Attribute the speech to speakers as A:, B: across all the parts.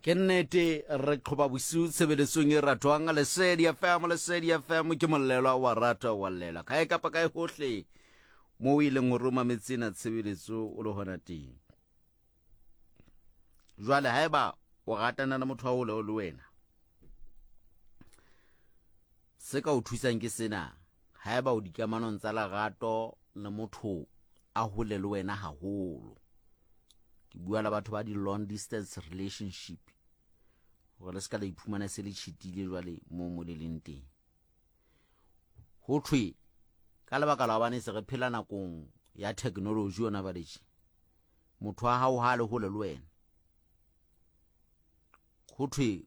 A: Ke nnete re qhoba bosiu tshebeletsong e ratwang Lesedi FM. Lesedi FM ke mollelwa wa ratwa wa llela kae kapa kae hohle mo o ileng o roma metsena tshebeletso o le hona teng. Jwale haeba o ratana le motho wa hole le wena, se ka o thusang ke sena: haeba o dikamanong tsa lerato le motho a hole le wena haholo, ke bua le batho ba di-long distance relationship, gore le se ka la iphumana se le tšhitile jwale mo mo le leng teng. Ho thwe ka lebaka la gobane se re phela nakong ya technology yona baletše, motho wa gago ga a le hole le wena, go thwe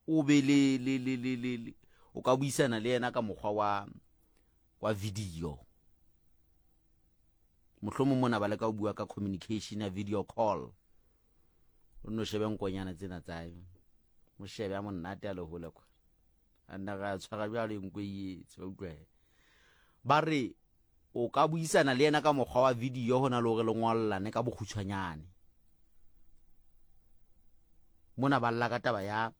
A: o be le le le le le le o ka buisana le yena ka mokgwa wa wa video. Mohlomong mona ba leka ho bua ka communication ya video call, o nno shebe nkonyana tsena tsa mo shebe a monate a le hole kwa, a nna ga tshwara jwalo e nko e etse ba utlwa. Ba re o ka buisana le yena ka mokgwa wa video ho na le hore le ngollane ka bokgutshwanyane. Mona ba lla ka taba ya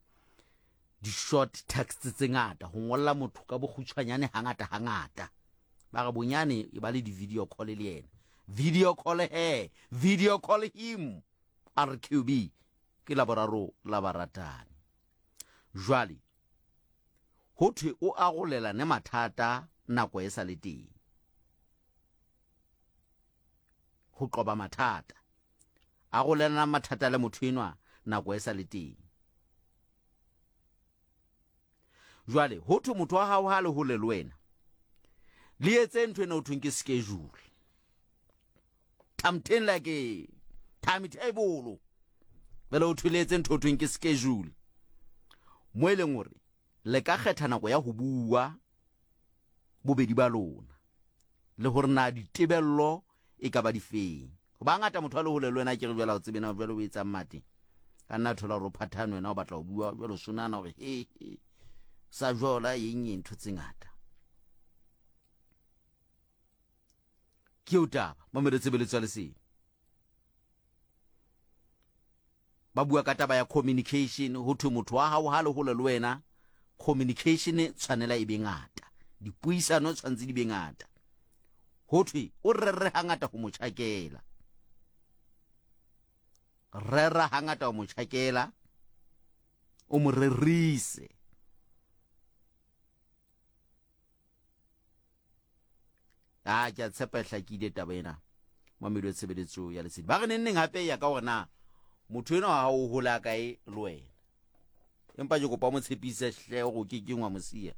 A: di-short text tse ngata, ho ngolla motho ka bokgutshwanyane hangata hangata. Ba re bonyane e ba le di-video call le yena, video call he, video call him. Rqb ke laboraro la baratani. Jwale ho thwe o arolelane mathata nako e sa le teng ho qoba mathata. Arolelana mathata le motho enwa nako e sa le teng. Jwale ho thwe motho wa hao ha le hole le wena, le etse ntho ena ho thweng ke schedule, something like a timetable. Bjale ho thwe le etse ntho ho thweng ke schedule, mo e leng hore le ka kgetha nako ya ho bua bobedi ba lona, le hore na ditebello e ka ba difeng. Ho ba ngata motho a le hole le wena, ke re jwale ha o tsebe na jwale o etsang mate, ka nna thola hore o phathane, wena o batla ho bua jwale o sonana hore he he sa jola eng eng, ntho tse ngata. Ke eo taba mamelo tshebeletso ya Lesedi. Ba bua ka taba ya communication. Ho thwe motho wa hao ha le hole le wena, communication tshwanela e be ngata, dipuisano tshwanetse di be ngata. Ho thwe o rere hangata ho mo tjhakela, rera hangata ho mo tjhakela, o mo rerise. A ke a tshepa e hlakile taba ena, mamedi wa tshebeletso ya Lesedi. Ba re neng neng hape ya ka hore na motho enwa ha o hola kae le wena, empa ke kopa mo tshepise hle gore o ke keng wa mo siya.